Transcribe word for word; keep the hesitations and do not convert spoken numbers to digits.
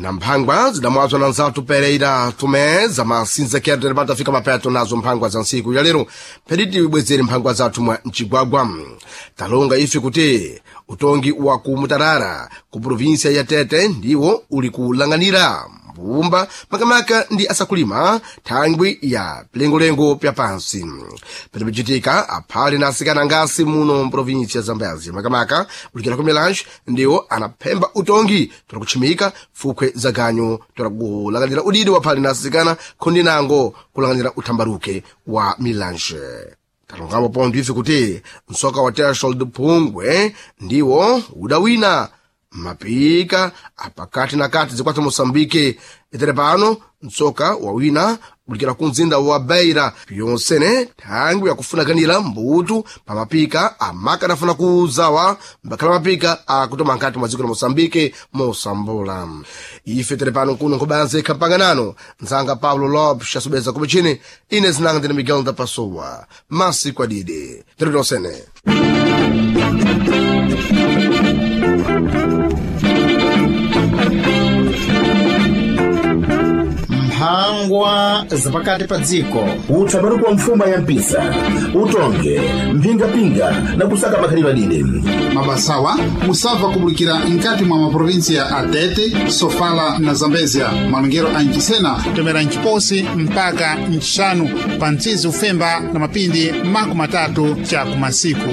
Na mphangwa zidamwazwa na nzathu Pereira Tomé za masinzekero tere patafika mapeto nazo mphangwa za ntsiku ya lero phediti ibwezere mphangwa zathu mwa mcigwagwa. Talonga ife kuti utongi wa ku Mutarara ku provinsia ya Tete ndiwo uli kulang'anira mbumba makamaka ndi asakulima thangwi ya pilengolengo pya pansi. Petipichitika aphale na asikana ngasi muno mprovinsia ya Zambezi makamaka ulikira ku Milange ndiwo anaphemba utongi tola kutchimika fukhwe za ganyu tola kulang'anira udidi wa phale na asikana khondi nango kulang'anira uthambaruke wa Milange. Talongapo pontho ife kuti msoka wa Tershol Phungwe ndiwo udawina mapika apakati na kati zikwata Moçambique. Itere pano mtsoka wawina kulikira ku mzinda wa Beira pyonsene thangwi yakufunakanira mbutu pa mapika amaka anafuna kuuzawa mbakhala mapika akutoma nkati mwa dziko la Moçambique mosambula. Ife tere pano kuno nkhobanze ikhampanganano nzanga Paulo Lopes asubeza kumichini ine zinanga ndine Miguel da Pessoa masiku adidi tere tonsene. Mphangwa zapakati pa dziko. Utsabaruku wa mfuma ya mpisa utonge mphingapinga na kusaka makhalidwe adide. Mabasawa musabva kubulikira nkati mwa maprovinsia a Tete, Sofala na Zambezia, malongero a Nchisena tomera Nchiposi mpaka Nchixanu pa mtsizi ufemba na mapindi makumi atatu cha kumasiku.